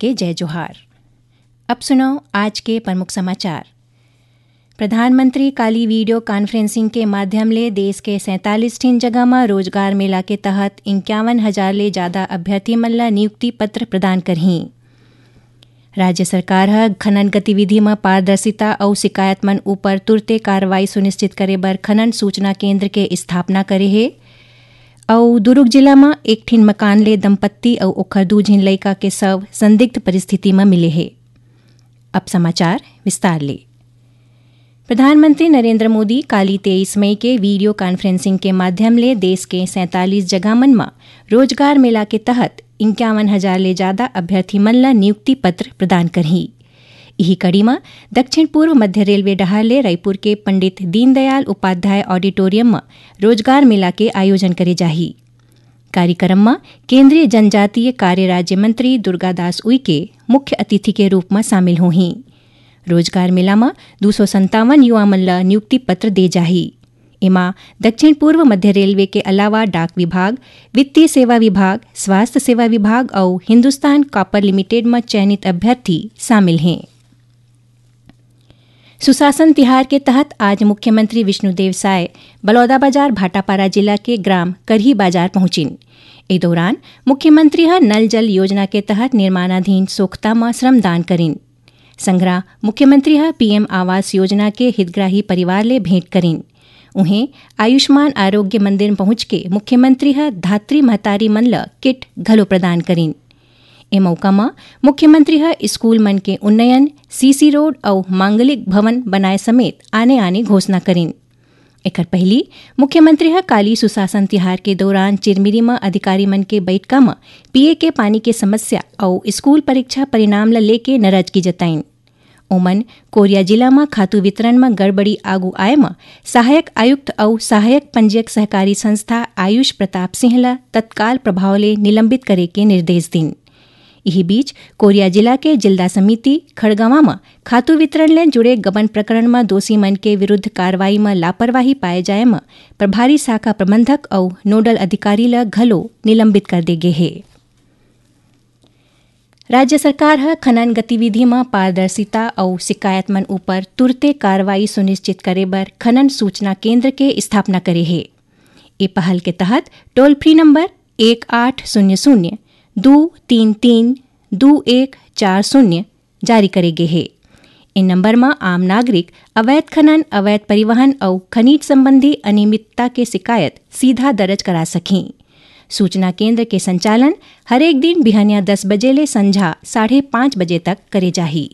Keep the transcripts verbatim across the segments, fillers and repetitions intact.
के जय जोहार। अब सुनव आज के प्रमुख समाचार। प्रधानमंत्री काली वीडियो कॉन्फ्रेंसिंग के माध्यम ले देश के सैंतालीस ठिन जगह म रोजगार मेला के तहत इक्यावन हजार ले जादा अभ्यर्थी मन ल नियुक्ति पत्र प्रदान करहीं। राज्य सरकार ह खनन गतिविधि म पारदर्शिता अउ शिकायत मन उपर तुरते कार्रवाई सुनिश्चित करे बर खनन सूचना केंद्र के स्थापना करे हे। अउ दुरूग जिला म एक ठिन मकान ले दंपत्ति अउ ओखर दू झिन लइका के शव संदिग्ध परिस्थिति म मिले हे। अब समाचार विस्तार ले। प्रधानमंत्री नरेंद्र मोदी काली तेईस मई के वीडियो कॉन्फ्रेंसिंग के माध्यम ले देश के सैंतालीस जगह मन म रोजगार मेला के तहत इक्यावन हजार ले जादा अभ्यर्थी मन ल नियुक्ति पत्र प्रदान करही। इही कड़ी म दक्षिण पूर्व मध्य रेलवे डहार ले रायपुर के पंडित दीनदयाल उपाध्याय ऑडिटोरियम म रोजगार मेला के आयोजन करे जाही। कार्यक्रम म केंद्रीय जनजातीय कार्य राज्य मंत्री दुर्गादास उइके मुख्य अतिथि के रूप म शामिल होही। रोजगार मेला म दू सौ संतावन युवा मन ल नियुक्ति पत्र दे जाही। एमा दक्षिण पूर्व मध्य रेलवे के अलावा डाक विभाग, वित्तीय सेवा विभाग, स्वास्थ्य सेवा विभाग अउ हिंदुस्तान कॉपर लिमिटेड म चयनित अभ्यर्थी शामिल हें। सुशासन तिहार के तहत आज मुख्यमंत्री विष्णुदेव साय बलौदाबाजार भाटापारा जिला के ग्राम करही बाजार पहुंचिन। ए दौरान मुख्यमंत्री ह नल जल योजना के तहत निर्माणाधीन सोख्ता म श्रमदान करिन। संघरा मुख्यमंत्री ह पीएम आवास योजना के हितग्राही परिवार ले भेंट करिन। उहें, आयुष्मान आरोग्य मंदिर पहुंच के मुख्यमंत्री ह धात्री महतारी मन ल किट घलो प्रदान करिन। ए मौका म मुख्यमंत्री ह स्कूल मन के उन्नयन, सीसी रोड अउ मांगलिक भवन बनाए समेत आने-आने घोषणा करिन। एखर पहिली मुख्यमंत्री ह काली सुशासन तिहार के दौरान चिरमिरी म अधिकारी मन के बइठका म पीए के पानी के समस्या अउ स्कूल परीक्षा परिणाम ल लेके नाराजगी जताइन। ओमन कोरिया जिला म खातू वितरण म गड़बड़ी आगू आए म सहायक आयुक्त अउ सहायक पंजीयक सहकारी संस्था आयुष प्रताप सिंह ल तत्काल प्रभाव ले निलंबित करे के निर्देश दिन। इही बीच, कोरिया जिला के जिल्दा समिति खड़गवां म खातू वितरण ले जुड़े गबन प्रकरण म दोषी मन के विरुद्ध कार्रवाई म लापरवाही पाए जाए म प्रभारी शाखा प्रबंधक अउ नोडल अधिकारी ल घलो निलंबित कर दे गे हे। राज्य सरकार ह खनन गतिविधि म पारदर्शिता अउ शिकायत मन उपर तुरते कार्रवाई सुनिश्चित करे बर खनन सूचना केंद्र के स्थापना करे हे। ए पहल के तहत टोल फ्री नंबर एक आठ शून्य शून्य दू तीन तीन दू एक चार शून्य जारी करे गे हे। ए नंबर म आम नागरिक अवैध खनन, अवैध परिवहन अउ खनिज संबंधी अनियमितता के शिकायत सीधा दर्ज करा सकही। सूचना केंद्र के संचालन हरेक दिन बिहनिया दस बजे ले संझा साढ़े पाँच बजे तक करे जाही।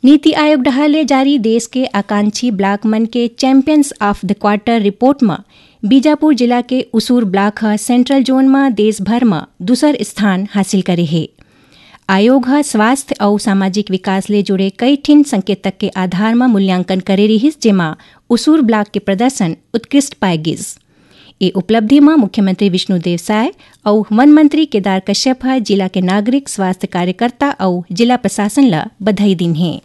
नीति आयोग डहार ले जारी देश के आकांक्षी ब्लॉक मन के champions of the quarter report म बीजापुर जिला के उसूर ब्लॉक ह सेंट्रल जोन म देश भर म दूसर स्थान हासिल करे हे। आयोग ह स्वास्थ्य अउ सामाजिक विकास ले जुड़े कई ठिन संकेतक के आधार म मूल्यांकन करे रिहिस, जेमा उसूर ब्लॉक के प्रदर्शन उत्कृष्ट पाए गिस। ए उपलब्धि म मुख्यमंत्री विष्णुदेव साय अउ वन मंत्री केदार कश्यप ह जिला के नागरिक, स्वास्थ्य कार्यकर्ता अउ जिला प्रशासन ल बधाई दीन हे।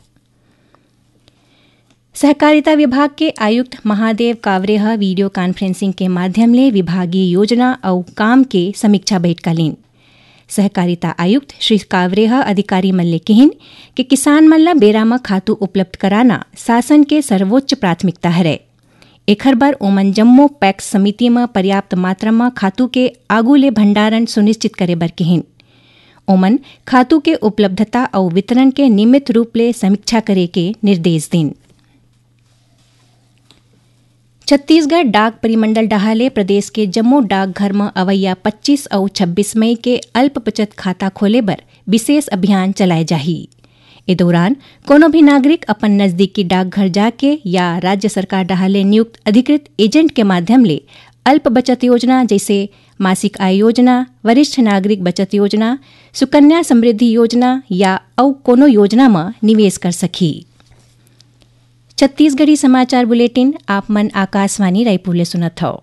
सहकारिता विभाग के आयुक्त महादेव कावरे ह वीडियो कॉन्फ्रेंसिंग के माध्यम ले विभागीय योजना अउ काम के समीक्षा बैठका लीन। सहकारिता आयुक्त श्री कावरे ह अधिकारी मन ले किहिन कि किसान मन ल बेरा म खातू उपलब्ध कराना शासन के सर्वोच्च प्राथमिकता हरय। एखर बर ओमन जम्मो पैक्स समिति म पर्याप्त मात्रा म खातू के आगू ले भंडारण सुनिश्चित करे बर किहिन। ओमन खातू के उपलब्धता अउ वितरण के नियमित रूप ले समीक्षा करे के निर्देश दीन। छत्तीसगढ़ डाक परिमंडल डहार ले प्रदेश के जम्मो डाकघर म अवइया पच्चीस अउ छब्बीस मई के अल्प बचत खाता खोले बर विशेष अभियान चलाए जाही। ए दौरान कोनो भी नागरिक अपन नजदीकी डाकघर जाके या राज्य सरकार डहार ले नियुक्त अधिकृत एजेंट के माध्यम ले अल्प बचत योजना जइसे मासिक आय योजना, वरिष्ठ नागरिक बचत योजना, सुकन्या समृद्धि योजना या अउ कोनो योजना म निवेश कर सकही। छत्तीसगढ़ी समाचार बुलेटिन आप मन आकाशवाणी रायपुर ले सुनत हव।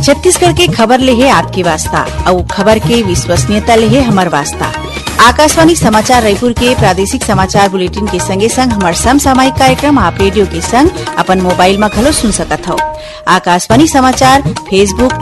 छत्तीसगढ़ के खबर ले हे आपके वास्ता, अउ खबर के विश्वसनीयता ले हे हमर वास्ता। आकाशवाणी समाचार रायपुर के प्रादेशिक समाचार बुलेटिन के संगे संग हमर समसामयिक कार्यक्रम आप रेडियो के संग अपन मोबाइल म घलो सुन सकत हव। आकाशवाणी समाचार Facebook,